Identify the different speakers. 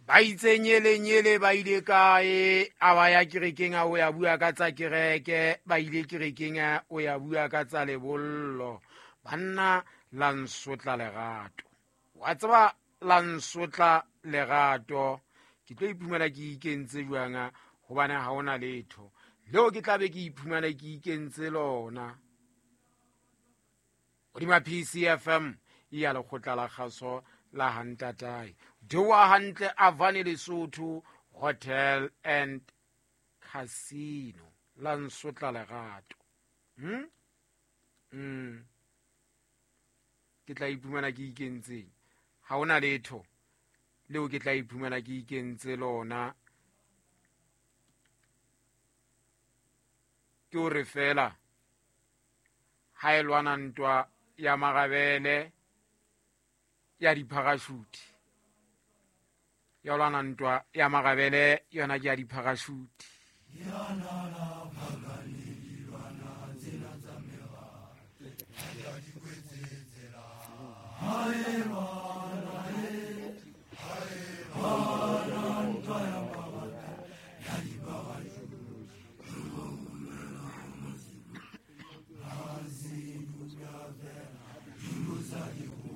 Speaker 1: Ba itse nyele-nyele ba ile kae? A ba ya kerekeng a o ya bua ka tsa kereke, ba ile kerekeng a o ya bua ka tsa lebollo. Banna la nsotla lerato, wa tseba la nsotla lerato. Ke tlo iphumana ke ikentse jwang, hobane ha hona letho leo ke tla be ke iphumana ke ikentse lona. Hodima PCFM ya lekgotla la kgaso la hantatae dewa hantle Avane Lesotho Hotel and Casino, la nsotla lerato. Ke tla iphumana ke ikentseng, ha hona letho leo ke tla iphumana ke ikentse lona. Ke hore fela ha e lwana ntwa ya marabele ya dipharashuti, ya lwana ntwa ya marabele yona ke ya dipharashuti.